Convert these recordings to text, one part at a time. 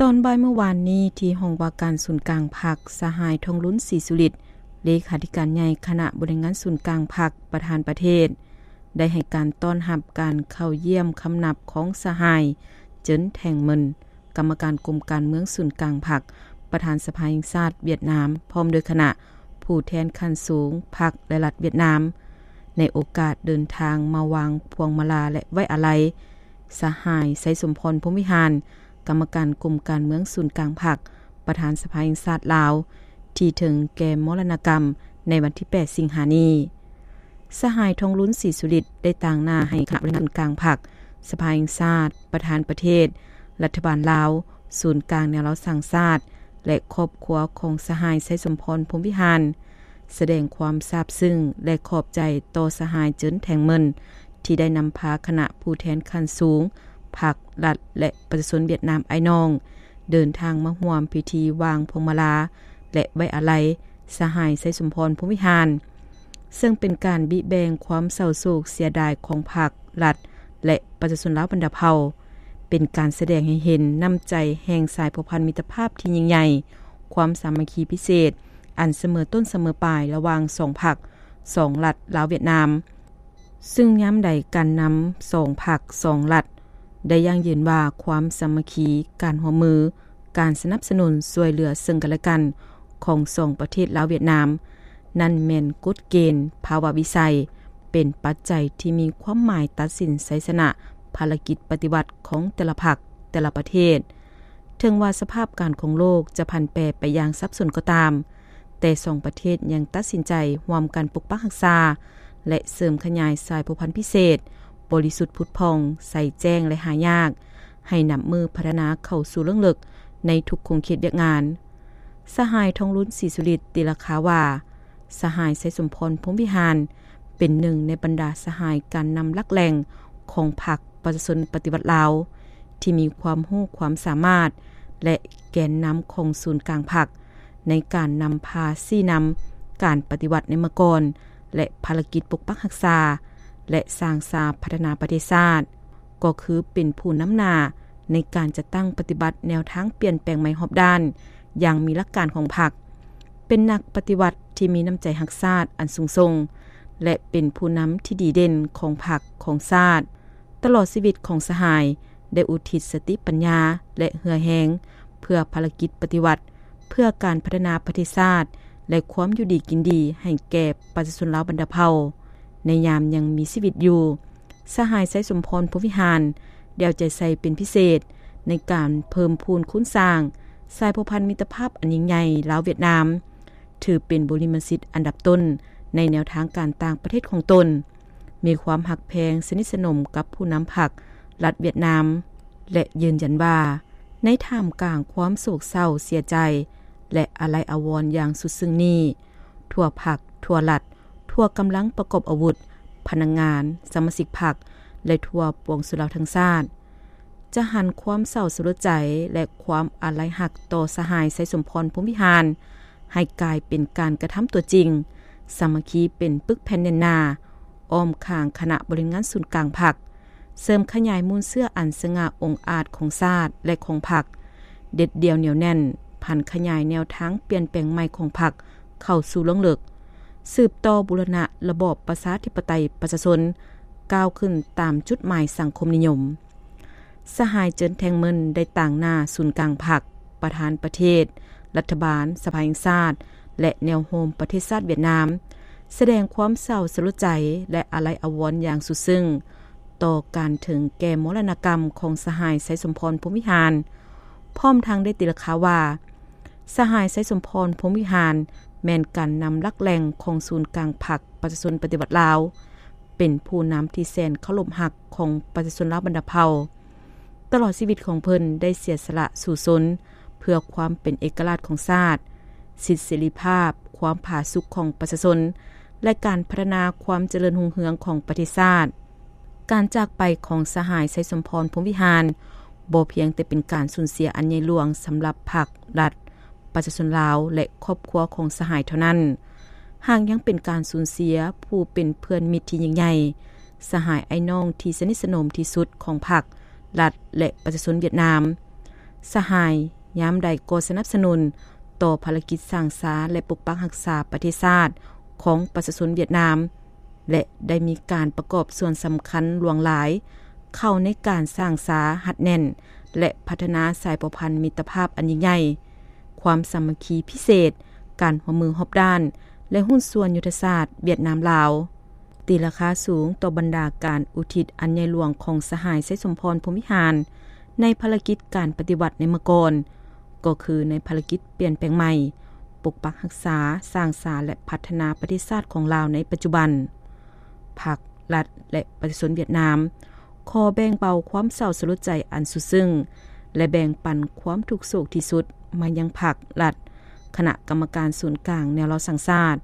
ຕອນບ່າຍມື້ວານນີ້ ທີ່ຫ້ອງວ່າການສູນກາງພັກ, ສະຫາຍ ທອງລຸນ ສີສຸລິດ ເລຂາທິການໃຫຍ່ຄະນະບໍລິຫານງານສູນກາງພັກ, ປະທານປະເທດ ໄດ້ໃຫ້ການຕ້ອນຮັບການເຂົ້າຢ້ຽມຄຳນັບຂອງສະຫາຍ ເຈີນ ແທງເມິນ ກຳມະການກົມການເມືອງສູນກາງພັກ, ປະທານສະພາແຫ່ງຊາດຫວຽດນາມ ພ້ອມດ້ວຍຄະນະຜູ້ແທນຂັ້ນສູງພັກ ແລະ ລັດຫວຽດນາມ, ໃນໂອກາດເດີນທາງມາວາງພວງມາລາ ແລະ ໄວ້ອາໄລ ສະຫາຍ ໄຊສົມພອນ ພົມວິຫານ ກຳມະການກົມການເມືອງສູນກາງພັກ, ປະທານສະພາແຫ່ງຊາດລາວ ທີ່ເຖິງແກ່ມໍລະນະກຳໃນວັນທີແປດ ສິງຫານີ້. ສະຫາຍ ທອງລຸນ ສີສຸລິດ ໄດ້ຕາງໜ້າໃຫ້ຄະນະບໍລິຫານງານສູນກາງພັກ, ສະພາແຫ່ງຊາດ, ປະທານປະເທດ, ລັດຖະບານລາວ, ສູນກາງແນວລາວສ້າງຊາດ ແລະ ຄອບຄົວຂອງສະຫາຍ ໄຊສົມພອນ ພົມວິຫານ ສະແດງຄວາມຊາບຊຶ້ງ ແລະ ຂອບໃຈຕໍ່ສະຫາຍ ເຈີນ ແທງເມິນ ທີ່ໄດ້ນຳພາຄະນະຜູ້ແທນຂັ້ນສູງພັກ, ລັດ ແລະ ປະຊາຊົນຫວຽດນາມອ້າຍນ້ອງ ເດີນທາງມາຮ່ວມພິທີວາງພວງມາລາ ແລະ ໄວ້ອາໄລ ສະຫາຍ ໄຊສົມພອນ ພົມວິຫານ ເຊິ່ງເປັນການບິແບ່ງຄວາມເສົ້າໂສກເສຍດາຍຂອງພັກ, ລັດ ແລະ ປະຊາຊົນລາວບັນດາເຜົ່າ, ເປັນການສະແດງໃຫ້ເຫັນນ້ຳໃຈແຫ່ງສາຍພົວພັນມິດຕະພາບທີ່ຍິ່ງໃຫຍ່, ຄວາມສາມັກຄີພິເສດ ອັນສະເໝີຕົ້ນສະເໝີປາຍລະຫວ່າງສອງພັກ, ສອງລັດ ລາວ-ຫວຽດນາມ. ຊຶ່ງຍາມໃດການນຳສອງພັກສອງລັດໄດ້ຢັ້ງຢືນວ່າຄວາມສາມັກຄີ, ການຮ່ວມມື, ການສະໜັບສະໜູນຊ່ວຍເຫຼືອເຊິ່ງກັນແລະກັນຂອງສອງປະເທດລາວ-ຫວຽດນາມ ນັ້ນແມ່ນກົດເກນ, ພາວະວິໄສ ເປັນປັດໄຈທີ່ມີຄວາມໝາຍຕັດສິນໄຊຊະນະພາລະກິດປະຕິວັດຂອງແຕ່ລະພັກ, ແຕ່ລະປະເທດ. ເຖິງວ່າສະພາບການຂອງໂລກຈະຜັນແປໄປຢ່າງສັບສົນກໍຕາມ, ແຕ່ສອງປະເທດຍັງຕັດສິນໃຈຮ່ວມກັນປົກປັກຮັກສາ ແລະ ເສີມຂະຫຍາຍສາຍພົວພັນພິເສດ, ບໍລິສຸດຜຸດຜ່ອງ, ໃສແຈ້ງ ແລະ ຫາຍາກ, ໃຫ້ນັບມື້ພັດທະນາເຂົ້າສູ່ເລິກໆໃນທຸກຂົງເຂດວຽກງານ. ສະຫາຍ ທອງລຸນ ສີສຸລິດ ຕີລາຄາວ່າ, ສະຫາຍ ໄຊສົມພອນ ພົມວິຫານ ເປັນໜຶ່ງໃນບັນດາສະຫາຍການນຳຫຼັກແຫຼ່ງຂອງພັກປະຊາຊົນປະຕິວັດລາວ ທີ່ມີຄວາມຮູ້ຄວາມສາມາດ ແລະ ແກນນຳຂອງສູນກາງພັກ ໃນການນຳພາຊີ້ນຳການປະຕິວັດໃນເມື່ອກ່ອນ ແລະ ພາລະກິດປົກປັກຮັກສາ ແລະ ສ້າງສາພັດທະນາປະເທດຊາດ, ກໍຄືເປັນຜູ້ນຳໜ້າໃນການຈັດຕັ້ງປະຕິບັດແນວທາງປ່ຽນແປງໃໝ່ຮອບດ້ານຢ່າງມີຫຼັກການຂອງພັກ, ເປັນນັກປະຕິວັດທີ່ມີນ້ຳໃຈຮັກຊາດອັນສູງສົ່ງ ແລະ ເປັນຜູ້ນຳທີ່ດີເດັ່ນຂອງພັກ, ຂອງຊາດ. ຕະຫຼອດຊີວິດຂອງສະຫາຍໄດ້ອຸທິດສະຕິປັນຍາ ແລະ ເຫື່ອແຮງເພື່ອພາລະກິດປະຕິວັດ, ເພື່ອການພັດທະນາປະເທດຊາດ ແລະ ຄວາມຢູ່ດີກິນດີໃຫ້ແກ່ປະຊາຊົນລາວບັນດາເຜົ່າ. ໃນຍາມຍັງມີຊີວິດຢູ່, ສະຫາຍ ໄຊສົມພອນ ພົມວິຫານ ໄດ້ເອົາໃຈໃສ່ເປັນພິເສດໃນການເພີ່ມພູນຄູນສ້າງສາຍພົວພັນມິດຕະພາບອັນຍິ່ງໃຫຍ່ລາວ-ຫວຽດນາມ, ຖືເປັນບຸລິມະສິດອັນດັບຕົ້ນໃນແນວທາງການຕ່າງປະເທດຂອງຕົນ. ມີຄວາມຮັກແພງສະໜິດສະໜົມກັບຜູ້ນຳພັກລັດຫວຽດນາມ ແລະ ຢືນຢັນວ່າ ໃນທ່າມກາງຄວາມໂສກເສົ້າເສຍໃຈ ແລະ ອາໄລອາວອນຢ່າງສຸດຊຶ້ງນີ້, ທົ່ວພັກ, ທົ່ວລັດ, ທົ່ວກຳລັງປະກອບອາວຸດ, ພະນັກງານ, ສະມາຊິກພັກ ແລະ ທົ່ວປວງຊົນລາວທັງຊາດ ຈະຫັນຄວາມເສົ້າສະຫຼົດໃຈ ແລະ ຄວາມອາໄລຮັກຕໍ່ສະຫາຍ ໄຊສົມພອນ ພົມວິຫານ ໃຫ້ກາຍເປັນການກະທຳຕົວຈິງ, ສາມັກຄີເປັນປຶກແຜ່ນແໜ້ນໜາ, ອ້ອມຂ້າງຄະນະບໍລິຫານງານສູນກາງພັກ, ເສີມຂະຫຍາຍມູນເຊື້ອອັນສະຫງ່າອົງອາດຂອງຊາດ ແລະ ຂອງພັກ, ເດັດດ່ຽວໜຽວແໜ້ນ, ຜັນຂະຫຍາຍແນວທາງປ່ຽນແປງໃໝ່ຂອງພັກເຂົ້າສູ່ເບື້ອງເລິກ, ສືບຕໍ່ບູລະນະລະບອບປະຊາທິປະໄຕປະຊາຊົນ ກ້າວຂຶ້ນຕາມຈຸດໝາຍສັງຄົມນິຍົມ. ສະຫາຍ ເຈີນ ແທງເມິນ ໄດ້ຕາງໜ້າສູນກາງພັກ, ປະທານປະເທດ, ລັດຖະບານ, ສະພາແຫ່ງຊາດ ແລະ ແນວໂຮມປະເທດຊາດຫວຽດນາມ ສະແດງຄວາມເສົ້າສະຫຼົດໃຈ ແລະ ອາໄລອາວອນຢ່າງສຸດຊຶ້ງຕໍ່ການເຖິງແກ່ມໍລະນະກຳຂອງສະຫາຍ ໄຊສົມພອນ ພົມວິຫານ, ພ້ອມທັງໄດ້ຕີລາຄາວ່າ ສະຫາຍ ໄຊສົມພອນ ພົມວິຫານ ແມ່ນການນຳຫຼັກແຫຼ່ງຂອງສູນກາງພັກປະຊາຊົນປະຕິວັດລາວ, ເປັນຜູ້ນຳທີ່ແສນເຄົາລົບຮັກຂອງປະຊາຊົນລາວບັນດາເຜົ່າ. ຕະຫຼອດຊີວິດຂອງເພິ່ນໄດ້ເສຍສະຫຼະສູ້ຊົນເພື່ອຄວາມເປັນເອກະລາດຂອງຊາດ, ສິດເສລີພາບ, ຄວາມຜາສຸກຂອງປະຊາຊົນ ແລະ ການພັດທະນາຄວາມຈະເລີນຮຸ່ງເຮືອງຂອງປະເທດຊາດ. ການຈາກໄປຂອງສະຫາຍ ໄຊສົມພອນ ພົມວິຫານ ບໍ່ພຽງແຕ່ເປັນການສູນເສຍອັນໃຫຍ່ຫຼວງສຳລັບພັກ, ລັດ, ປະຊາຊົນລາວ ແລະ ຄອບຄົວຂອງສະຫາຍເທົ່ານັ້ນ, ຫາກຍັງເປັນການສູນເສຍຜູ້ເປັນເພື່ອນມິດທີ່ຍິ່ງໃຫຍ່, ສະຫາຍອ້າຍນ້ອງທີ່ສະໜິດສະໜົມທີ່ສຸດຂອງພັກ, ລັດ ແລະ ປະຊາຊົນຫວຽດນາມ. ສະຫາຍຍາມໃດກໍສະໜັບສະໜູນຕໍ່ພາລະກິດສ້າງສາ ແລະ ປົກປັກຮັກສາປະເທດຊາດຂອງປະຊາຊົນຫວຽດນາມ ແລະ ໄດ້ມີການປະກອບສ່ວນສຳຄັນຫຼວງຫຼາຍເຂົ້າໃນການສ້າງສາ, ຮັດແໜ້ນ ແລະ ພັດທະນາສາຍພົວພັນມິດຕະພາບອັນຍິ່ງໃຫຍ່, ຄວາມສາມັກຄີພິເສດ, ການຮ່ວມມືຮອບດ້ານ ແລະ ຫຸ້ນສ່ວນຍຸດທະສາດຫວຽດນາມ-ລາວ. ຕີລາຄາສູງຕໍ່ບັນດາການອຸທິດອັນໃຫຍ່ຫຼວງຂອງສະຫາຍ ໄຊສົມພອນ ພົມວິຫານ ໃນພາລະກິດການປະຕິວັດໃນເມື່ອກ່ອນ, ກໍຄືໃນພາລະກິດປ່ຽນແປງໃໝ່, ປົກປັກຮັກສາ, ສ້າງສາ ແລະ ພັດທະນາປະເທດຊາດຂອງລາວໃນປັດຈຸບັນ. ພັກ, ລັດ ແລະ ປະຊາຊົນຫວຽດນາມ ຂໍແບ່ງເບົາຄວາມເສົ້າສະຫຼົດໃຈອັນສຸດຊຶ້ງ ແລະ ແບ່ງປັນຄວາມທຸກໂສກທີ່ສຸດມາຍັງພັກ, ລັດ, ຄະນະກຳມະການສູນກາງແນວລາວສ້າງຊາດ,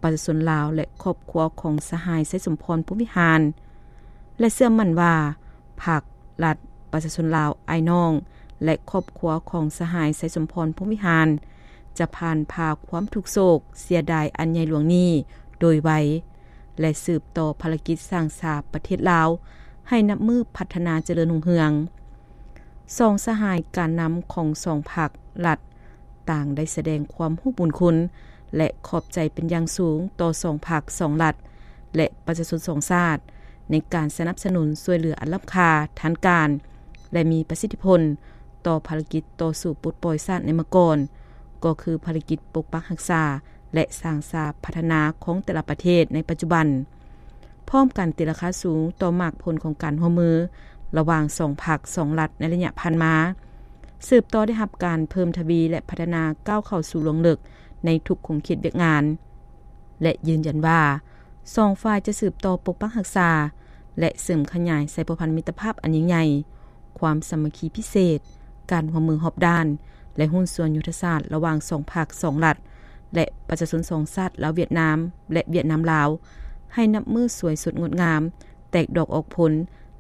ປະຊາຊົນລາວ ແລະ ຄອບຄົວຂອງສະຫາຍ ໄຊສົມພອນ ພົມວິຫານ ແລະ ເຊື່ອໝັ້ນວ່າ ພັກ, ລັດ, ປະຊາຊົນລາວອ້າຍນ້ອງ ແລະ ຄອບຄົວຂອງສະຫາຍ ໄຊສົມພອນ ພົມວິຫານ ຈະຜ່ານຜ່າຄວາມທຸກໂສກເສຍດາຍອັນໃຫຍ່ຫຼວງນີ້ໂດຍໄວ ແລະ ສືບຕໍ່ພາລະກິດສ້າງສາປະເທດລາວໃຫ້ນັບມື້ພັດທະນາຈະເລີນຮຸ່ງເຮືອງ. ສອງສະຫາຍການນຳຂອງສອງພັກ, ລັດ ຕ່າງໄດ້ສະແດງຄວາມຮູ້ບຸນຄຸນ ແລະ ຂອບໃຈເປັນຢ່າງສູງຕໍ່ສອງພັກ, ສອງລັດ ແລະ ປະຊາຊົນສອງຊາດ ໃນການສະໜັບສະໜູນຊ່ວຍເຫຼືອອັນລ້ຳຄ່າ, ທັນການ ແລະ ມີປະສິດທິຜົນຕໍ່ພາລະກິດຕໍ່ສູ້ປົດປ່ອຍຊາດໃນເມື່ອກ່ອນ, ກໍຄືພາລະກິດປົກປັກຮັກສາ ແລະ ສ້າງສາພັດທະນາຂອງແຕ່ລະປະເທດໃນປັດຈຸບັນ. ພ້ອມກັນຕີລາຄາສູງຕໍ່ໝາກຜົນຂອງການຮ່ວມມືລະຫວ່າງສອງພັກ, ສອງລັດໃນໄລຍະຜ່ານມາ, ສືບຕໍ່ໄດ້ຮັບການເພີ່ມທະວີ ແລະ ພັດທະນາກ້າວເຂົ້າສູ່ລວງເລິກໃນທຸກຂົງເຂດວຽກງານ ແລະ ຢືນຢັນວ່າ ສອງຝ່າຍຈະສືບຕໍ່ປົກປັກຮັກສາ ແລະ ເສີມຂະຫຍາຍສາຍພົວພັນມິດຕະພາບອັນຍິ່ງໃຫຍ່, ຄວາມສາມັກຄີພິເສດ, ການຮ່ວມມືຮອບດ້ານ ແລະ ຫຸ້ນສ່ວນຍຸດທະສາດລະຫວ່າງສອງພັກ, ສອງລັດ ແລະ ປະຊາຊົນສອງຊາດ ລາວ-ຫວຽດນາມ ແລະ ຫວຽດນາມ-ລາວ ໃຫ້ນັບມື້ສວຍສົດງົດງາມ, ແຕກດອກອອກຜົນ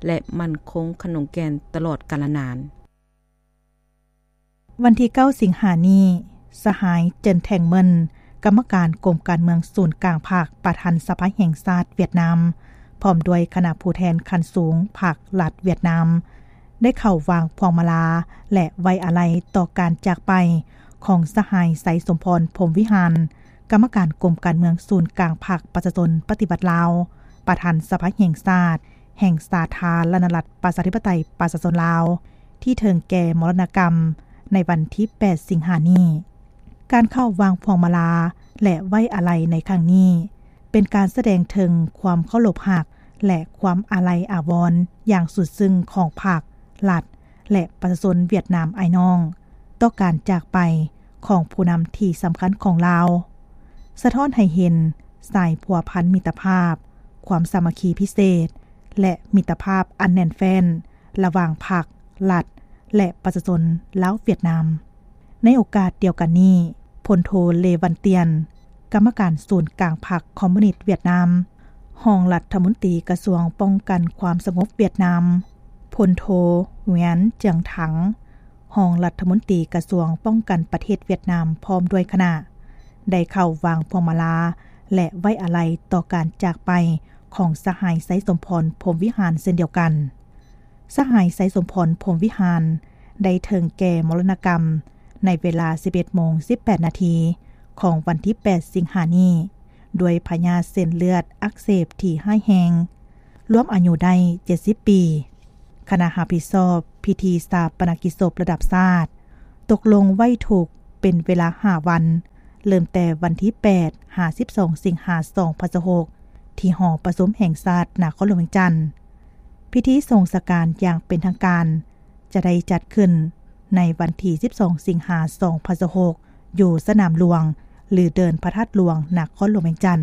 ແລະ ໝັ້ນຄົງຂະໜົງແກ່ນຕະຫຼອດການລະນານ. ວັນທີເກົ້າ ສິງຫານີ້, ສະຫາຍ ເຈິນ ແທງເມິນ ກຳມະການກົມການເມືອງສູນກາງພັກ, ປະທານສະພາແຫ່ງຊາດຫວຽດນາມ ພ້ອມດ້ວຍຄະນະຜູ້ແທນຂັ້ນສູງພັກລັດຫວຽດນາມ ໄດ້ເຂົ້າວາງພວງມາລາ ແລະ ໄວ້ອາໄລຕໍ່ການຈາກໄປຂອງສະຫາຍ ໄຊສົມພອນ ພົມວິຫານ ກຳມະການກົມການເມືອງສູນກາງພັກປະຊາຊົນປະຕິວັດລາວ, ປະທານສະພາແຫ່ງຊາດ ແຫ່ງສາທາລະນະລັດ ປະຊາທິປະໄຕ ປະຊາຊົນລາວ ທີ່ເຖິງແກ່ມໍລະນະກຳໃນວັນທີແປດ ສິງຫານີ້. ການເຂົ້າວາງພວງມາລາ ແລະ ໄວ້ອາໄລໃນຄັ້ງນີ້ ເປັນການສະແດງເຖິງຄວາມເຄົາລົບຮັກ ແລະ ຄວາມອາໄລອາວອນຢ່າງສຸດຊຶ້ງຂອງພັກ, ລັດ ແລະ ປະຊາຊົນຫວຽດນາມອ້າຍນ້ອງ ຕໍ່ການຈາກໄປຂອງຜູ້ນຳທີ່ສຳຄັນຂອງລາວ, ສະທ້ອນໃຫ້ເຫັນສາຍພົວພັນມິດຕະພາບ, ຄວາມສາມັກຄີພິເສດ ແລະ ມິດຕະພາບອັນແໜ້ນແຟ້ນລະຫວ່າງພັກ, ລັດ ແລະ ປະຊາຊົນລາວ-ຫວຽດນາມ. ໃນໂອກາດດຽວກັນນີ້, ພົນໂທ ເລ ວັນຕຽນ ກຳມະການສູນກາງພັກຄອມມູນິດຫວຽດນາມ, ຮອງລັດຖະມົນຕີກະຊວງປ້ອງກັນຄວາມສະຫງົບຫວຽດນາມ, ພົນໂທ ຫວຽນ ຈຽງຖັງ ຮອງລັດຖະມົນຕີກະຊວງປ້ອງກັນປະເທດຫວຽດນາມ ພ້ອມດ້ວຍຄະນະ ໄດ້ເຂົ້າວາງພວງມາລາ ແລະ ໄວ້ອາໄລຕໍ່ການຈາກໄປຂອງສະຫາຍ ໄຊສົມພອນ ພົມວິຫານ ເຊັ່ນດຽວກັນ. ສະຫາຍ ໄຊສົມພອນ ພົມວິຫານ ໄດ້ເຖິງແກ່ມໍລະນະກຳໃນເວລາສິບເອັດໂມງສິບແປດນາທີຂອງວັນທີແປດ ສິງຫານີ້ ດ້ວຍພະຍາດເສັ້ນເລືອດອັກເສບທີ່ຮ້າຍແຮງ, ລວມອາຍຸໄດ້ເຈັດສິບປີ. ຄະນະຮັບຜິດຊອບພິທີຊາປະນະກິດສົບລະດັບຊາດ ຕົກລົງໄວ້ທຸກເປັນເວລາຫ້າວັນ, ເລີ່ມແຕ່ວັນທີແປດ ຫາ ສິບສອງ ສິງຫາ ສອງພັນຊາວຫົກ ທີ່ຫໍປະຊຸມແຫ່ງຊາດນະຄອນຫຼວງວຽງຈັນ. ພິທີສົ່ງສະການຢ່າງເປັນທາງການຈະໄດ້ຈັດຂຶ້ນໃນວັນທີສິບສອງ ສິງຫາ ສອງພັນຊາວຫົກ ຢູ່ສະໜາມຫຼວງ ຫຼື ເດີ່ນພະທາດຫຼວງ ນະຄອນຫຼວງວຽງຈັນ.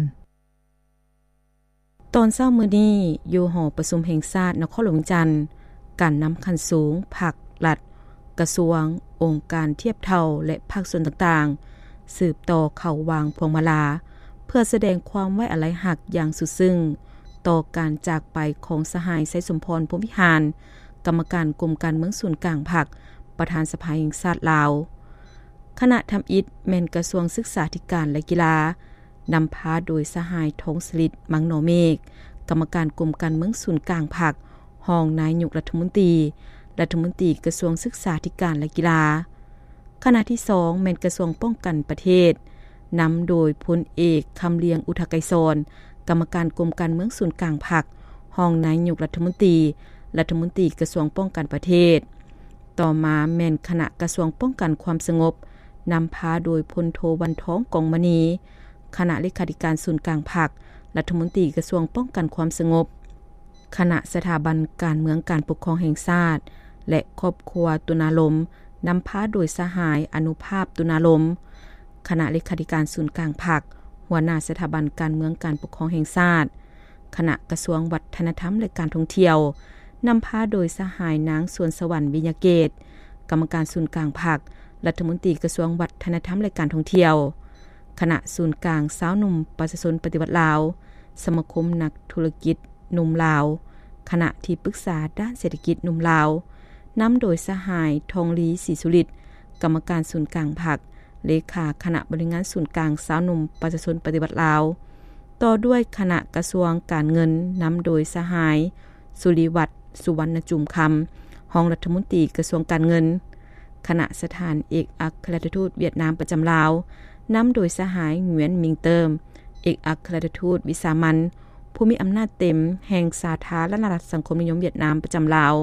ຕອນເຊົ້າມື້ນີ້ ຢູ່ຫໍປະຊຸມແຫ່ງຊາດນະຄອນຫຼວງວຽງຈັນ, ການນຳຂັ້ນສູງ, ພັກ, ລັດ, ກະຊວງ, ອົງການທຽບເທົ່າ ແລະ ພາກສ່ວນຕ່າງໆ ສືບຕໍ່ເຂົ້າວາງພວງມາລາ ເພື່ອສະແດງຄວາມໄວ້ອາໄລຮັກຢ່າງສຸດຊຶ້ງຕໍ່ການຈາກໄປຂອງສະຫາຍ ໄຊສົມພອນ ພົມວິຫານ ກຳມະການກົມການເມືອງສູນກາງພັກ, ປະທານສະພາແຫ່ງຊາດລາວ. ຄະນະທຳອິດແມ່ນກະຊວງສຶກສາທິການ ແລະ ກິລາ, ນຳພາໂດຍສະຫາຍ ທອງສະລິດ ມັງນໍເມກ ກຳມະການກົມການເມືອງສູນກາງພັກ, ຮອງນາຍົກລັດຖະມົນຕີ, ລັດຖະມົນຕີກະຊວງສຶກສາທິການ ແລະ ກິລາ. ຄະນະທີສອງແມ່ນກະຊວງປ້ອງກັນປະເທດ, ນຳໂດຍພົນເອກ ຄຳລຽງ ອຸທະໄກສອນ, ກຳມະການກົມການເມືອງສູນກາງພັກ, ຮອງນາຍົກລັດຖະມົນຕີ, ລັດຖະມົນຕີກະຊວງປ້ອງກັນປະເທດ. ຕໍ່ມາແມ່ນຄະນະກະຊວງປ້ອງກັນຄວາມສະຫງົບ, ນຳພາໂດຍພົນໂທ ວັນທອງ ກອງມະນີ, ຄະນະເລຂາທິການສູນກາງພັກ, ລັດຖະມົນຕີກະຊວງປ້ອງກັນຄວາມສະຫງົບ. ຄະນະສະຖາບັນການເມືອງການປົກຄອງແຫ່ງຊາດ ແລະ ຄອບຄົວຕຸນາລົມ, ນຳພາໂດຍສະຫາຍ ອະນຸພາບ ຕຸນາລົມ, ຄະນະເລຂາທິການສູນກາງພັກ, ຫົວໜ້າສະຖາບັນການເມືອງການປົກຄອງແຫ່ງຊາດ, ຄະນະກະຊວງວັດທະນະທຳ ແລະ ການທ່ອງທ່ຽວ, ນຳພາໂດຍສະຫາຍ ນາງ ສວນສະຫວັນ ວິຍະເກດ, ກຳມະການສູນກາງພັກ, ລັດຖະມົນຕີກະຊວງວັດທະນະທຳ ແລະ ການທ່ອງທ່ຽວ, ຄະນະສູນກາງຊາວໜຸ່ມປະຊາຊົນປະຕິວັດລາວ, ສະມາຄົມນັກທຸລະກິດ ໜຸ່ມລາວ, ຄະນະທີ່ປຶກສາດ້ານເສດຖະກິດໜຸ່ມລາວ, ນຳໂດຍສະຫາຍ ທອງລີ ສີສຸລິດ, ກຳມະການສູນກາງພັກ, ເລຂາຄະນະບໍລິຫານງານສູນກາງຊາວໜຸ່ມປະຊາຊົນປະຕິວັດລາວ, ຕໍ່ດ້ວຍຄະນະກະຊວງການເງິນ, ນຳໂດຍສະຫາຍ ສຸລິວັດ ສຸວັນນະຈູມຄຳ, ຮອງລັດຖະມົນຕີກະຊວງການເງິນ, ຄະນະສະຖານເອກອັກຄະລັດຖະທູດຫວຽດນາມປະຈຳລາວ, ນຳໂດຍສະຫາຍ ຫງວຽນ ມິງເຕີມ, ເອກອັກຄະລັດຖະທູດວິສາມັນ, ຜູ້ມີອຳນາດເຕັມແຫ່ງສາທາລະນະລັດສັງຄົມນິຍົມຫວຽດນາມປະຈຳລາວ,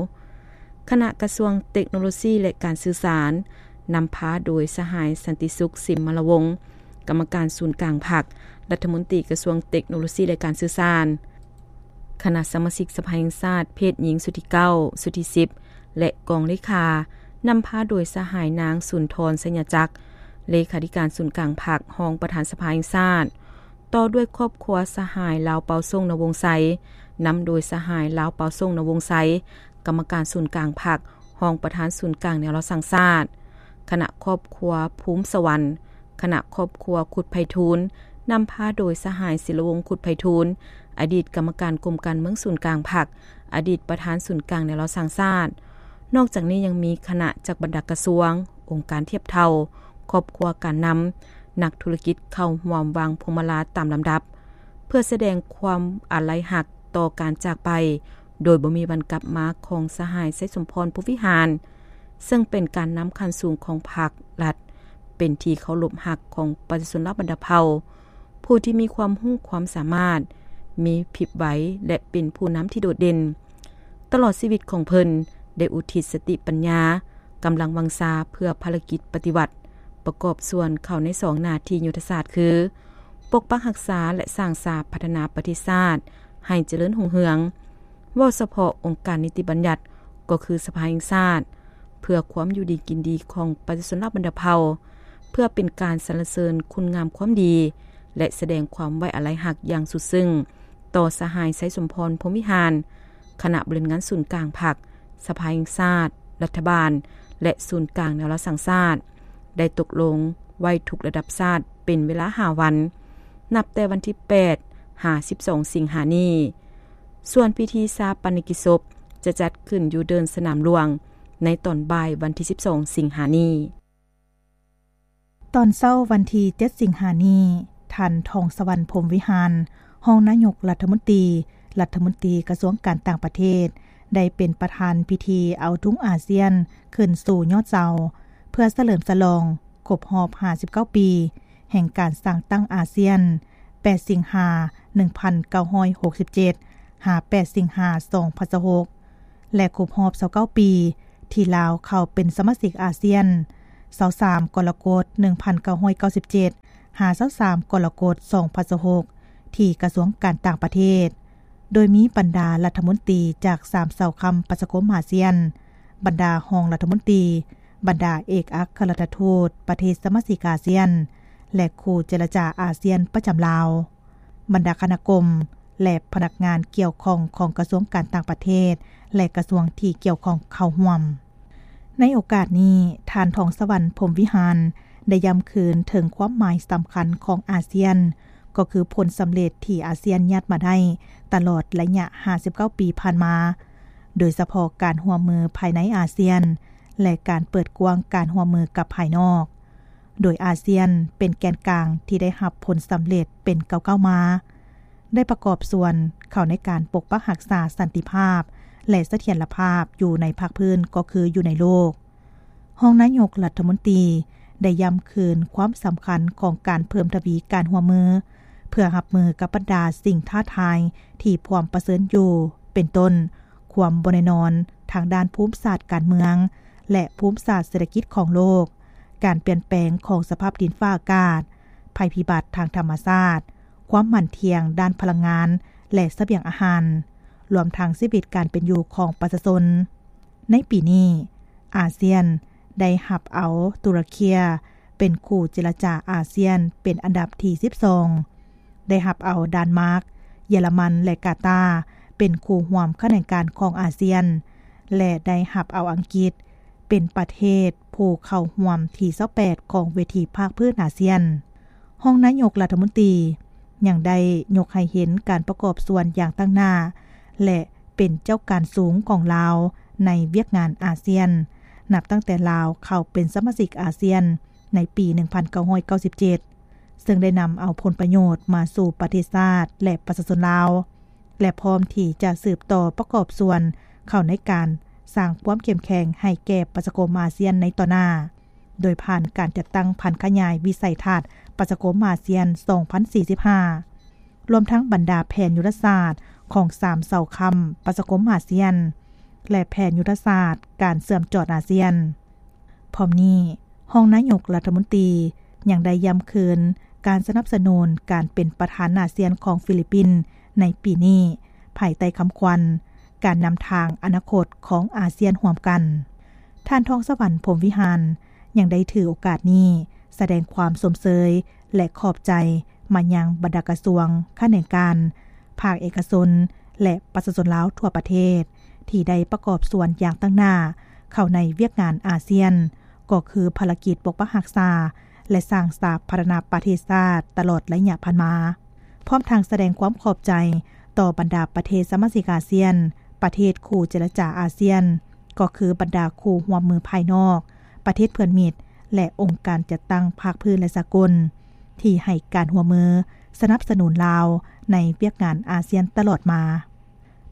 ຄະນະກະຊວງເຕັກໂນໂລຊີ ແລະ ການສື່ສານ, ນຳພາໂດຍສະຫາຍ ສັນຕິສຸກ ສິມມະລະວົງ, ກຳມະການສູນກາງພັກ, ລັດຖະມົນຕີກະຊວງເຕັກໂນໂລຊີ ແລະ ການສື່ສານ, ຄະນະສະມາຊິກສະພາແຫ່ງຊາດ ເພດຍິງຊຸດທີເກົ້າ, ຊຸດທີສິບ ແລະ ກອງເລຂາ, ນຳພາໂດຍສະຫາຍ ນາງ ສຸນທອນ ໄຊຍະຈັກ, ເລຂາທິການສູນກາງພັກ, ຮອງປະທານສະພາແຫ່ງຊາດ, ຕໍ່ດ້ວຍຄອບຄົວສະຫາຍ ລາວເປົາສົງ ນະວົງໄຊ, ນຳໂດຍສະຫາຍ ລາວເປົາສົງ ນະວົງໄຊ, ກຳມະການສູນກາງພັກ, ຮອງປະທານສູນກາງແນວລາວສ້າງຊາດ, ຄະນະຄອບຄົວພູມສະຫວັນ, ຄະນະຄອບຄົວຄຸດໄພທູນ, ນຳພາໂດຍສະຫາຍ ສິລະວົງ ຄຸດໄພທູນ, ອະດີດກຳມະການກົມການເມືອງສູນກາງພັກ, ອະດີດປະທານສູນກາງແນວລາວສ້າງຊາດ. ນອກຈາກນີ້ຍັງມີຄະນະຈາກບັນດາກະຊວງ, ອົງການທຽບເທົ່າ, ຄອບຄົວການນຳ, ນັກທຸລະກິດເຂົ້າຮ່ວມວາງພວງມາລາຕາມລຳດັບ, ເພື່ອສະແດງຄວາມອາໄລຮັກຕໍ່ການຈາກໄປໂດຍບໍ່ມີວັນກັບມາຂອງສະຫາຍ ໄຊສົມພອນ ພົມວິຫານ, ເຊິ່ງເປັນການນຳຂັ້ນສູງຂອງພັກລັດ, ເປັນທີ່ເຄົາລົບຮັກຂອງປະຊາຊົນລາວບັນດາເຜົ່າ, ຜູ້ທີ່ມີຄວາມຮູ້ຄວາມສາມາດ, ມີພິບໄວ ແລະ ເປັນຜູ້ນຳທີ່ໂດດເດັ່ນ. ຕະຫຼອດຊີວິດຂອງເພິ່ນໄດ້ອຸທິດສະຕິປັນຍາ, ກຳລັງວັງຊາເພື່ອພາລະກິດປະຕິວັດ, ປະກອບສ່ວນເຂົ້າໃນສອງໜ້າທີ່ຍຸດທະສາດຄື ປົກປັກຮັກສາ ແລະ ສ້າງສາພັດທະນາປະເທດຊາດໃຫ້ຈະເລີນຮຸ່ງເຮືອງ. ເວົ້າສະເພາະອົງການນິຕິບັນຍັດ ກໍຄືສະພາແຫ່ງຊາດ, ເພື່ອຄວາມຢູ່ດີກິນດີຂອງປະຊາຊົນລາວບັນດາເຜົ່າ, ເພື່ອເປັນການສັນລະເສີນຄຸນງາມຄວາມດີ ແລະ ສະແດງຄວາມໄວ້ອາໄລຮັກຢ່າງສຸດຊຶ້ງຕໍ່ສະຫາຍ ໄຊສົມພອນ ພົມວິຫານ, ຄະນະບໍລິຫານງານສູນກາງພັກ, ສະພາແຫ່ງຊາດ, ລັດຖະບານ ແລະ ສູນກາງແນວລາວສ້າງຊາດ ໄດ້ຕົກລົງໄວ້ທຸກລະດັບຊາດເປັນເວລາຫ້າວັນ, ນັບແຕ່ວັນທີແປດຫາສິບສອງ ສິງຫານີ້. ສ່ວນພິທີຊາປະນະກິດສົບຈະຈັດຂຶ້ນຢູ່ເດີ່ນສະໜາມຫຼວງ ໃນຕອນບ່າຍວັນທີສິບສອງ ສິງຫານີ້. ຕອນເຊົ້າວັນທີເຈັດ ສິງຫານີ້, ທ່ານ ທອງສະຫວັນ ພົມວິຫານ, ຮອງນາຍົກລັດຖະມົນຕີ, ລັດຖະມົນຕີກະຊວງການຕ່າງປະເທດ, ໄດ້ເປັນປະທານພິທີເອົາທຸງອາຊຽນຂຶ້ນສູ່ຍອດເສົາ, ເພື່ອສະເຫຼີມສະຫຼອງຄົບຮອບຫ້າສິບເກົ້າປີ ແຫ່ງການສ້າງຕັ້ງອາຊຽນ ແປດ ສິງຫາ ໜຶ່ງພັນເກົ້າຮ້ອຍຫົກສິບເຈັດ ຫາ ແປດ ສິງຫາ ສອງພັນຊາວຫົກ ແລະ ຄົບຮອບຊາວເກົ້າປີ ທີ່ລາວເຂົ້າເປັນສະມາຊິກອາຊຽນ ຊາວສາມ ກໍລະກົດ ໜຶ່ງພັນເກົ້າຮ້ອຍເກົ້າສິບເຈັດ ຫາ ຊາວສາມ ກໍລະກົດ ສອງພັນຊາວຫົກ ທີ່ກະຊວງການຕ່າງປະເທດ, ໂດຍມີບັນດາລັດຖະມົນຕີຈາກສາມເສົາຄ້ຳປະຊາຄົມອາຊຽນ, ບັນດາຮອງລັດຖະມົນຕີ, ບັນດາເອກອັກຄະລັດຖະທູດປະເທດສະມາຊິກອາຊຽນ ແລະ ຄູ່ເຈລະຈາອາຊຽນປະຈຳລາວ, ບັນດາຄະນະກົມ ແລະ ພະນັກງານກ່ຽວຂ້ອງຂອງກະຊວງການຕ່າງປະເທດ ແລະ ກະຊວງທີ່ກ່ຽວຂ້ອງເຂົ້າຮ່ວມ. ໃນໂອກາດນີ້, ທ່ານ ທອງສະຫວັນ ພົມວິຫານ ໄດ້ຢ້ຳຄືນເຖິງຄວາມໝາຍສຳຄັນຂອງອາຊຽນ, ກໍຄືຜົນສຳເລັດທີ່ອາຊຽນຍາດມາໄດ້ຕະຫຼອດໄລຍະຫ້າສິບເກົ້າປີຜ່ານມາ, ໂດຍສະເພາະການຮ່ວມມືພາຍໃນອາຊຽນ ແລະ ການເປີດກວ້າງການຮ່ວມມືກັບພາຍນອກ, ໂດຍອາຊຽນເປັນແກນກາງທີ່ໄດ້ຮັບຜົນສຳເລັດເປັນກ້າວໆມາ, ໄດ້ປະກອບສ່ວນເຂົ້າໃນການປົກປັກຮັກສາສັນຕິພາບ ແລະສະຖຽນລະພາບຢູ່ໃນພາກພື້ນກໍຄືຢູ່ໃນໂລກ. ຮອງນາຍົກລັດຖະມົນຕີໄດ້ຢ້ຳຄືນຄວາມສຳຄັນຂອງການເພີ່ມທະວີການຮ່ວມມື ເພື່ອຮັບມືກັບບັນດາສິ່ງທ້າທາຍທີ່ພວມປະເຊີນຢູ່ ເປັນຕົ້ນ ຄວາມບໍ່ແນ່ນອນທາງດ້ານພູມສາດການເມືອງ ແລະ ພູມສາດເສດຖະກິດຂອງໂລກ, ການປ່ຽນແປງຂອງສະພາບດິນຟ້າອາກາດ, ໄພພິບັດທາງທຳມະຊາດ, ຄວາມໝັ້ນທ່ຽງດ້ານພະລັງງານ ແລະ ສະບຽງອາຫານ, ລວມທັງຊີວິດການເປັນຢູ່ຂອງປະຊາຊົນ. ໃນປີນີ້, ອາຊຽນໄດ້ຮັບເອົາຕຸລະເຄຍເປັນຄູ່ເຈລະຈາອາຊຽນເປັນອັນດັບທີສິບສອງ, ໄດ້ຮັບເອົາດານມາກ, ເຢຍລະມັນ ແລະ ກາຕາເປັນຄູ່ຮ່ວມຂະແໜງການຂອງອາຊຽນ ແລະ ໄດ້ຮັບເອົາອັງກິດເປັນປະເທດຜູ້ເຂົ້າຮ່ວມທີຊາວແປດຂອງເວທີພາກພື້ນອາຊຽນ. ຮອງນາຍົກລັດຖະມົນຕີຍັງໄດ້ຍົກໃຫ້ເຫັນການປະກອບສ່ວນຢ່າງຕັ້ງໜ້າ ແລະ ເປັນເຈົ້າການສູງຂອງລາວໃນວຽກງານອາຊຽນ ນັບຕັ້ງແຕ່ລາວເຂົ້າເປັນສະມາຊິກອາຊຽນໃນປີໜຶ່ງພັນເກົ້າຮ້ອຍເກົ້າສິບເຈັດ ເຊິ່ງໄດ້ນຳເອົາຜົນປະໂຫຍດມາສູ່ປະເທດຊາດ ແລະ ປະຊາຊົນລາວ ແລະ ພ້ອມທີ່ຈະສືບຕໍ່ປະກອບສ່ວນເຂົ້າໃນການສ້າງຄວາມເຂັ້ມແຂງໃຫ້ແກ່ປະຊາຄົມອາຊຽນໃນຕໍ່ໜ້າ ໂດຍຜ່ານການຈັດຕັ້ງຜັນຂະຫຍາຍວິໄສທັດປະຊາຄົມອາຊຽນສອງພັນສີ່ສິບຫ້າ ລວມທັງບັນດາແຜນຍຸດທະສາດຂອງສາມເສົາຄ້ຳປະຊາຄົມອາຊຽນ ແລະ ແຜນຍຸດທະສາດການເຊື່ອມຈອດອາຊຽນ. ພ້ອມນີ້, ຮອງນາຍົກລັດຖະມົນຕີຍັງໄດ້ຢ້ຳຄືນການສະໜັບສະໜູນການເປັນປະທານອາຊຽນຂອງຟີລິບປິນໃນປີນີ້ ພາຍໃຕ້ຄຳຂວັນ ການນຳທາງອະນາຄົດຂອງອາຊຽນຮ່ວມກັນ. ທ່ານ ທອງສະຫວັນ ພົມວິຫານ ຍັງໄດ້ຖືໂອກາດນີ້ສະແດງຄວາມຊົມເຊີຍ ແລະ ຂອບໃຈມາຍັງບັນດາກະຊວງ, ຂະແໜງການ, ພາກເອກະຊົນ ແລະ ປະຊາຊົນລາວທົ່ວປະເທດ ທີ່ໄດ້ປະກອບສ່ວນຢ່າງຕັ້ງໜ້າເຂົ້າໃນວຽກງານອາຊຽນ, ກໍຄືພາລະກິດປົກປັກຮັກສາ ແລະ ສ້າງສາພັດທະນາປະເທດຊາດຕະຫຼອດໄລຍະຜ່ານມາ, ພ້ອມທັງສະແດງຄວາມຂອບໃຈຕໍ່ບັນດາປະເທດສະມາຊິກອາຊຽນ, ປະເທດຄູ່ເຈລະຈາອາຊຽນ, ກໍຄືບັນດາຄູ່ຮ່ວມມືພາຍນອກ, ປະເທດເພື່ອນມິດ ແລະ ອົງການຈັດຕັ້ງພາກພື້ນ ແລະ ສາກົນ ທີ່ໃຫ້ການຮ່ວມມືສະໜັບສະໜູນລາວໃນວຽກງານອາຊຽນຕະຫຼອດມາ.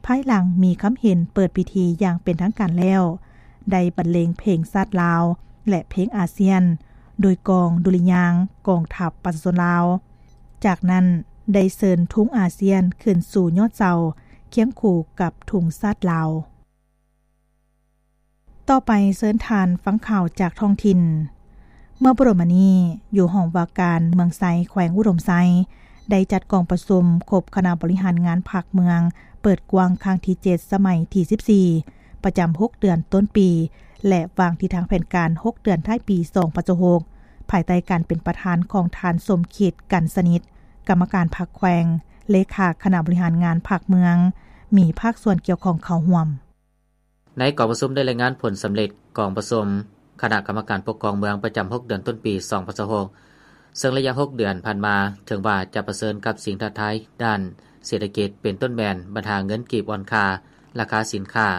ພາຍຫຼັງມີຄຳເຫັນເປີດພິທີຢ່າງເປັນທາງການແລ້ວ, ໄດ້ບັນເລງເພງຊາດລາວ ແລະ ເພງອາຊຽນ ໂດຍກອງດຸລິຍາງກອງທັບປະຊາຊົນລາວ. ຈາກນັ້ນໄດ້ເຊີນທຸງອາຊຽນຂຶ້ນສູ່ຍອດເສົາ ຄຽງຄູ່ກັບທຸງຊາດລາວ. ຕໍ່ໄປເຊີນທ່ານຟັງຂ່າວຈາກທ້ອງຖິ່ນ. ເມື່ອບໍ່ດົນມານີ້, ຢູ່ຫ້ອງວ່າການເມືອງໄຊ ແຂວງອຸດົມໄຊ ໄດ້ຈັດກອງປະຊຸມຄົບຄະນະບໍລິຫານງານພັກເມືອງ ເປີດກວ້າງຄັ້ງທີເຈັດ ສະໄໝທີສິບສີ່ ປະຈຳຫົກເດືອນຕົ້ນປີ ແລະ ວາງທິດທາງແຜນການຫົກເດືອນທ້າຍປີສອງພັນຊາວຫົກ ພາຍໃຕ້ການເປັນປະທານຂອງທ່ານ ສົມຄິດ ກັນສະໜິດ ກຳມະການພັກແຂວງ, ເລຂາຄະນະບໍລິຫານງານພັກເມືອງ, ມີພາກສ່ວນກ່ຽວຂ້ອງເຂົ້າຮ່ວມ. ໃນກອງປະຊຸມໄດ້ລາຍງານຜົນສຳເລັດກອງປະຊຸມຄະນະກຳມະການປົກຄອງເມືອງປະຈຳຫົກເດືອນຕົ້ນປີສອງພັນຊາວຫົກ ເຊິ່ງໄລຍະຫົກເດືອນຜ່ານມາ ເຖິງວ່າຈະປະເຊີນກັບສິ່ງທ້າທາຍດ້ານເສດຖະກິດ ເປັນຕົ້ນແມ່ນບັນຫາເງິນກີບອ່ອນຄ່າ, ລາຄາສິນຄ້າ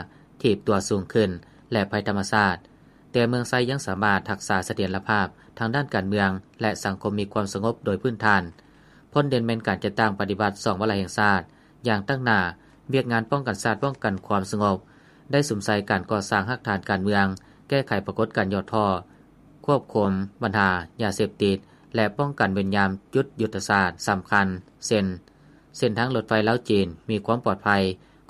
ຖີບຕົວສູງຂຶ້ນ ແລະ ໄພທຳມະຊາດ, ແຕ່ເມືອງໄຊຍັງສາມາດຮັກສາສະຖຽນລະພາບທາງດ້ານການເມືອງ ແລະ ສັງຄົມມີຄວາມສະຫງົບໂດຍພື້ນຖານ. ພົ້ນເດັ່ນແມ່ນການຈັດຕັ້ງປະຕິບັດສອງວາລະແຫ່ງຊາດຢ່າງຕັ້ງໜ້າ, ວຽກງານປ້ອງກັນຊາດ, ປ້ອງກັນຄວາມສະຫງົບ, ໄດ້ສຸມໃສ່ການກໍ່ສ້າງຮາກຖານການເມືອງ, ແກ້ໄຂປາກົດການຫຍໍ້ທໍ້, ຄວບຄຸມບັນຫາຢາເສບຕິດ ແລະ ປ້ອງກັນເວັ້ນຍາມຈຸດຍຸດທະສາດສຳຄັນ ເຊັ່ນ ເສັ້ນທາງລົດໄຟລາວ-ຈີນມີຄວາມປອດໄພ,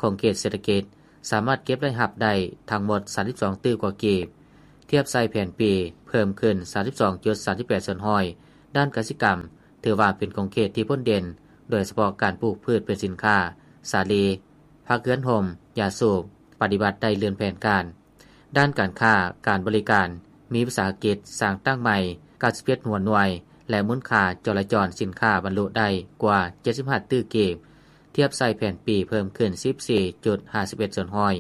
ຂົງເຂດເສດຖະກິດສາມາດເກັບລາຍຮັບໄດ້ທັງໝົດສາມສິບສອງຕື້ກວ່າກີບ, ທຽບໃສ່ແຜນປີເພີ່ມຂຶ້ນສາມສິບສອງຈຸດສາມສິບແປດສ່ວນຮ້ອຍ. ດ້ານກະສິກຳ ຖືວ່າເປັນຂົງເຂດທີ່ພົ້ນເດັ່ນ, ໂດຍສະເພາະການປູກພືດເປັນສິນຄ້າ, ສາລີ, ຜັກເຮືອນຮົ່ມ, ຢາສູບ, ປະຕິບັດໄດ້ລື່ນແຜນການ. ດ້ານການຄ້າ, ການບໍລິການ, ມີວິສາຫະກິດສ້າງຕັ້ງໃໝ່ ເກົ້າສິບເຈັດຫົວໜ່ວຍ ແລະ ມູນຄ່າຈໍລະຈອນສິນຄ້າບັນລຸໄດ້ກວ່າເຈັດສິບຫ້າຕື້ກີບ, ທຽບໃສ່ແຜນປີເພີ່ມຂຶ້ນສິບສີ່ຈຸດຫ້າສິບເອັດສ່ວນຮ້ອຍ.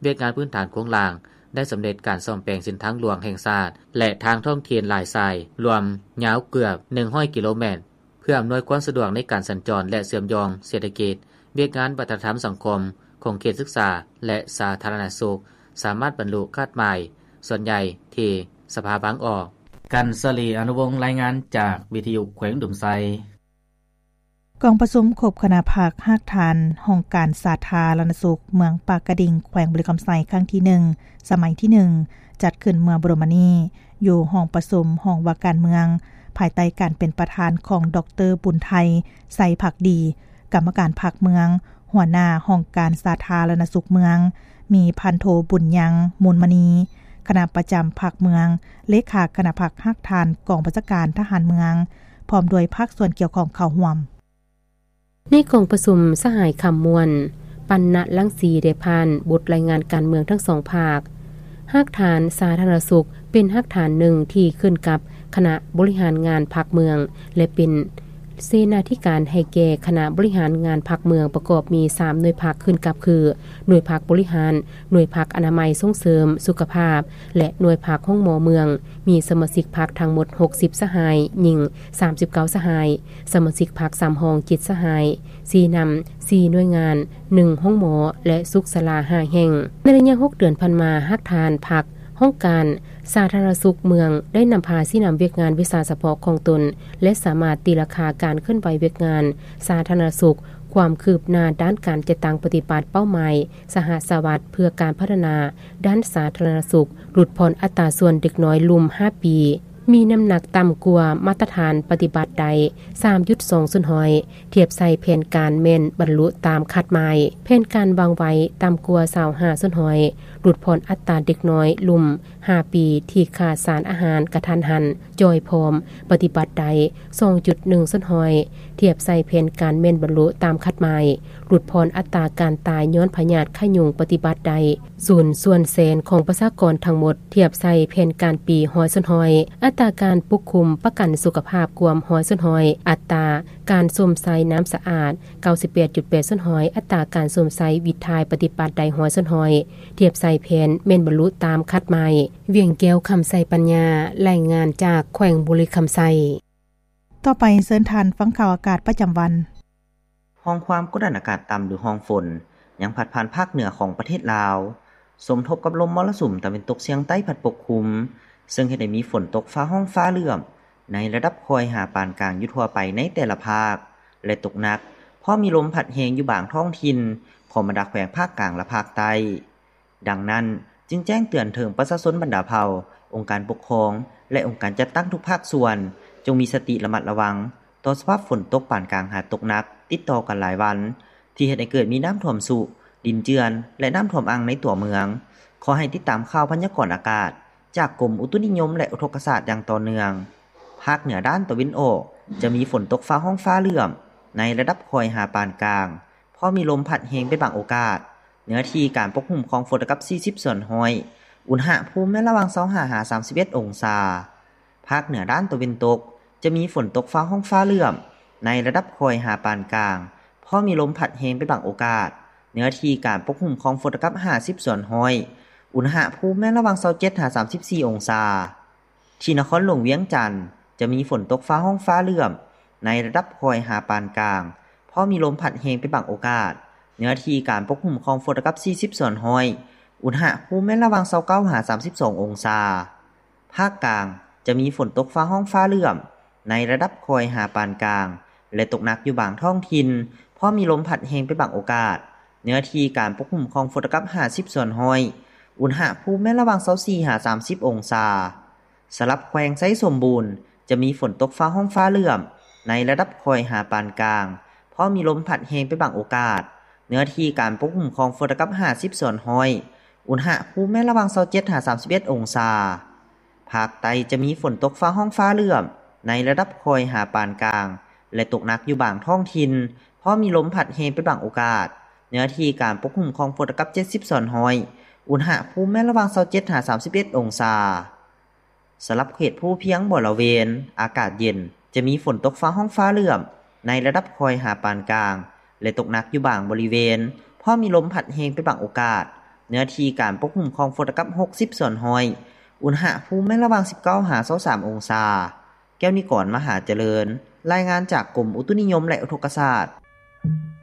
ວຽກງານພື້ນຖານໂຄງລ່າງໄດ້ສຳເລັດການສ້ອມແປງເສັ້ນທາງຫຼວງແຫ່ງຊາດ ແລະ ທາງທ້ອງຖິ່ນຫຼາຍສາຍ, ລວມຍາວເກືອບໜຶ່ງຮ້ອຍກິໂລແມັດ, ເພື່ອອຳນວຍຄວາມສະດວກໃນການສັນຈອນ ແລະ ເຊື່ອມໂຍງເສດຖະກິດ, ວຽກງານວັດທະນະທຳສັງຄົມ, ຂົງເຂດສຶກສາ ແລະ ສາທາລະນະສຸກ ສາມາດບັນລຸຄາດໝາຍສ່ວນໃຫຍ່ທີ່ສະພາວາງອອກ. ກັນສະລີ ອະນຸວົງ ລາຍງານຈາກວິທະຍຸແຂວງອຸດົມໄຊ. ກອງປະຊຸມຄົບຄະນະພັກຮາກຖານຫ້ອງການສາທາລະນະສຸກເມືອງປາກກະດິງ ແຂວງບໍລິຄຳໄຊ ຄັ້ງທີໜຶ່ງ ສະໄໝທີໜຶ່ງ ຈັດຂຶ້ນເມື່ອບໍ່ດົນມານີ້ ຢູ່ຫ້ອງປະຊຸມຫ້ອງວ່າການເມືອງ ພາຍໃຕ້ການເປັນປະທານຂອງ ດອກເຕີ ບຸນໄທ ໄຊພັກດີ ກຳມະການພັກເມືອງ, ຫົວໜ້າຫ້ອງການສາທາລະນະສຸກເມືອງ, ມີພັນໂທ ບຸນຍັງ ມູນມະນີ ຄະນະປະຈຳພັກເມືອງ, ເລຂາຄະນະພັກຮາກຖານກອງບັນຊາການທະຫານເມືອງ ພ້ອມດ້ວຍພາກສ່ວນກ່ຽວຂ້ອງເຂົ້າຮ່ວມ. ໃນກອງປະຊຸມ ສະຫາຍ ຄຳມ່ວນ ປັນນະລັງສີ ໄດ້ຜ່ານບົດລາຍງານການເມືອງທັງສອງພາກ. ຮາກຖານສາທາລະນະສຸກເປັນຮາກຖານໜຶ່ງທີ່ຂຶ້ນກັບຄະນະບໍລິຫານງານພັກເມືອງ ແລະ ເປັນເສນາທິການໃຫ້ແກ່ຄະນະບໍລິຫານງານພັກເມືອງ ປະກອບມີສາມໜ່ວຍພັກຂຶ້ນກັບຄື ໜ່ວຍພັກບໍລິຫານ, ໜ່ວຍພັກອະນາໄມສົ່ງເສີມສຸຂະພາບ ແລະ ໜ່ວຍພັກໂຮງໝໍເມືອງ, ມີສະມາຊິກພັກທັງໝົດຫົກສິບສະຫາຍ, ຍິງສາມສິບເກົ້າສະຫາຍ, ສະມາຊິກພັກສຳຮອງເຈັດສະຫາຍ, ຊີ້ນຳສີ່ໜ່ວຍງານ, ໜຶ່ງໂຮງໝໍ ແລະ ສຸກສາລາຫ້າແຫ່ງ. ໃນໄລຍະຫົກເດືອນຜ່ານມາ, ຮາກຖານພັກຫ້ອງການສາທາລະນະສຸກເມືອງໄດ້ນຳພາຊີ້ນຳວຽກງານວິຊາສະເພາະຂອງຕົນ ແລະ ສາມາດຕີລາຄາການເຄື່ອນໄຫວວຽກງານສາທາລະນະສຸກ, ຄວາມຄືບໜ້າດ້ານການຈັດຕັ້ງປະຕິບັດເປົ້າໝາຍສະຫະສະຫວັດເພື່ອການພັດທະນາ ດ້ານສາທາລະນະສຸກ, ຫຼຸດຜ່ອນອັດຕາສ່ວນເດັກນ້ອຍລຸ່ມຫ້າປີ ມີນ້ຳໜັກຕ່ຳກວ່າມາດຕະຖານປະຕິບັດໄດ້ສາມຈຸດສອງສ່ວນຮ້ອຍ, ທຽບໃສ່ແຜນການແມ່ນບັນລຸຕາມຄາດໝາຍ. ແຜນການວາງໄວ້ຕ່ຳກວ່າຊາວຫ້າສ່ວນຮ້ອຍ, ຫຼຸດຜ່ອນອັດຕາເດັກນ້ອຍລຸ່ມຫ້າປີທີ່ຂາດສານອາຫານກະທັນຫັນ, ຈ່ອຍຜອມ, ປະຕິບັດໄດ້ສອງຈຸດໜຶ່ງສ່ວນຮ້ອຍ, ທຽບໃສ່ແຜນການແມ່ນບັນລຸຕາມຄາດໝາຍ. ຫຼຸດຜ່ອນອັດຕາການຕາຍຍ້ອນພະຍາດໄຂ້ຍຸງປະຕິບັດໄດ້ສູນສ່ວນແສນຂອງປະຊາກອນທັງໝົດ, ທຽບໃສ່ແຜນການປີຮ້ອຍສ່ວນຮ້ອຍ. ອັດຕາການປົກຄຸມປະກັນສຸຂະພາບກວມຮ້ອຍສ່ວນຮ້ອຍ, ອັດຕາການຊົມໃຊ້ນ້ຳສະອາດເກົ້າສິບແປດຈຸດແປດສ່ວນຮ້ອຍ, ອັດຕາການຊົມໃຊ້ວິດຖ່າຍປະຕິບັດໄດ້ຮ້ອຍສ່ວນຮ້ອຍ, ທຽບໃສ່ແຜນແມ່ນບັນລຸຕາມຄາດໝາຍ. ວຽງແກ້ວ ຄຳໄຊປັນຍາ, ລາຍງານຈາກແຂວງບໍລິຄຳໄຊ. ຕໍ່ໄປເຊີນທ່ານຟັງຂ່າວອາກາດປະຈຳວັນ. ຮ່ອງຄວາມກົດດັນອາກາດຕ່ຳ ຫຼື ຮ່ອງຝົນ ຍັງພັດຜ່ານພາກເໜືອຂອງປະເທດລາວ, ສົມທົບກັບລົມມໍລະສຸມຕາເວັນຕົກສຽງໃຕ້ພັດປົກຄຸມ, ເຊິ່ງເຮັດໃຫ້ມີຝົນຕົກຟ້າຮ້ອງຟ້າເຫຼື້ອມ ໃນລະດັບຄ່ອຍຫາປານກາງຢູ່ທົ່ວໄປໃນແຕ່ລະພາກ ແລະ ຕົກໜັກ, ພ້ອມມີລົມພັດແຮງຢູ່ບາງທ້ອງຖິ່ນຂອງບັນດາແຂວງພາກກາງ ແລະ ພາກໃຕ້. ດັ່ງນັ້ນ, ຈຶ່ງແຈ້ງເຕືອນເຖິງປະຊາຊົນບັນດາເຜົ່າ, ອົງການປົກຄອງ ແລະ ອົງການຈັດຕັ້ງທຸກພາກສ່ວນ, ຈົ່ງມີສະຕິລະມັດລະວັງຕໍ່ສະພາບຝົນຕົກປານກາງຫາຕົກໜັກຕິດຕໍ່ກັນຫຼາຍວັນ, ທີ່ເຮັດໃຫ້ເກີດມີນ້ຳຖ້ວມຊຸ, ດິນເຈື່ອນ ແລະ ນ້ຳຖ້ວມອັ່ງໃນຕົວເມືອງ. ຂໍໃຫ້ຕິດຕາມຂ່າວພະຍາກອນອາກາດຈາກກົມອຸຕຸນິຍົມ ແລະ ອຸທົກກະສາດຢ່າງຕໍ່ເນື່ອງ. ພາກເໜືອດ້ານຕາເວັນອອກ ຈະມີຝົນຕົກຟ້າຮ້ອງຟ້າເຫຼື້ອມ ໃນລະດັບຄ່ອຍຫາປານກາງ, ພໍມີລົມພັດແຮງເປັນບາງໂອກາດ. ເນື້ອທີ່ການປົກຄຸມຂອງຝົນລະດັບສີ່ສິບສ່ວນຮ້ອຍ, ອຸນຫະພູມແມ່ນລະຫວ່າງຊາວຫ້າຫາສາມສິບເອັດອົງສາ. ພາກເໜືອດ້ານຕາເວັນຕົກ ຈະມີຝົນຕົກຟ້າຮ້ອງຟ້າເຫຼື້ອມ ໃນລະດັບຄ່ອຍຫາປານກາງ, ພໍມີລົມພັດແຮງເປັນບາງໂອກາດ. ເນື້ອທີ່ການປົກຄຸມຂອງຝົນລະດັບຫ້າສິບສ່ວນຮ້ອຍ, ອຸນຫະພູມແມ່ນລະຫວ່າງຊາວເຈັດຫາສາມສິບສີ່ອົງສາ. ທີ່ນະຄອນຫຼວງວຽງຈັນ ຈະມີຝົນຕົກຟ້າຮ້ອງຟ້າເຫຼື້ອມ ໃນລະດັບຄ່ອຍຫາປານກາງ, ພໍມີລົມພັດແຮງເປັນບາງໂອກາດ. ເນື້ອທີ່ການປົກຄຸມຂອງຝົນລະດັບສີ່ສິບສ່ວນຮ້ອຍ, ອຸນຫະພູມແມ່ນລະຫວ່າງຊາວເກົ້າຫາສາມສິບສອງອົງສາ. ພາກກາງ ຈະມີຝົນຕົກຟ້າຮ້ອງຟ້າເຫຼື້ອມ ໃນລະດັບຄ່ອຍຫາປານກາງ ແລະ ຕົກໜັກຢູ່ບາງທ້ອງຖິ່ນ, ພໍມີລົມພັດແຮງເປັນບາງໂອກາດ. ເນື້ອທີ່ການປົກຄຸມຂອງຝົນລະດັບຫ້າສິບສ່ວນຮ້ອຍ, ອຸນຫະພູມແມ່ນລະຫວ່າງຊາວສີ່ຫາສາມສິບອົງສາ. ສຳລັບແຂວງໄຊສົມບູນ ຈະມີຝົນຕົກຟ້າຮ້ອງຟ້າເຫຼື້ອມ ໃນລະດັບຄ່ອຍຫາປານກາງ, ພໍມີລົມພັດແຮງເປັນບາງໂອກາດ. ເນື້ອທີ່ການປົກຄຸມຂອງຝົນລະດັບຫ້າສິບສ່ວນຮ້ອຍ, ອຸນຫະພູມແມ່ນລະຫວ່າງຊາວເຈັດຫາສາມສິບເອັດອົງສາ. ພາກໃຕ້ຈະມີຝົນຕົກຟ້າຮ້ອງຟ້າເຫຼື້ອມ ໃນລະດັບຄ່ອຍຫາປານກາງ ແລະ ຕົກໜັກຢູ່ບາງທ້ອງຖິ່ນ, ພໍມີລົມພັດແຮງເປັນບາງໂອກາດ. ເນື້ອທີ່ການປົກຄຸມຂອງຝົນລະດັບເຈັດສິບສ່ວນຮ້ອຍ, ອຸນຫະພູມແມ່ນລະຫວ່າງຊາວເຈັດຫາສາມສິບເອັດອົງສາ. ສຳລັບເຂດພູພຽງບໍລະເວນ ອາກາດເຢັນ, ຈະມີຝົນຕົກຟ້າຮ້ອງຟ້າເຫຼື້ອມ ໃນລະດັບຄ່ອຍຫາປານກາງ ແລະ ຕົກໜັກຢູ່ບາງບໍລິເວນ, ພໍມີລົມພັດແຮງເປັນບາງໂອກາດ. ເນື້ອທີ່ການປົກຄຸມຂອງຝົນລະດັບຫົກສິບສ່ວນຮ້ອຍ, ອຸນຫະພູມແມ່ນລະຫວ່າງສິບເກົ້າຫາຊາວສາມອົງສາ. ແກ້ວນິກອນ ມະຫາຈະເລີນ, ລາຍງານຈາກກົມອຸຕຸນິຍົມ ແລະ ອຸທົກກະສາດ.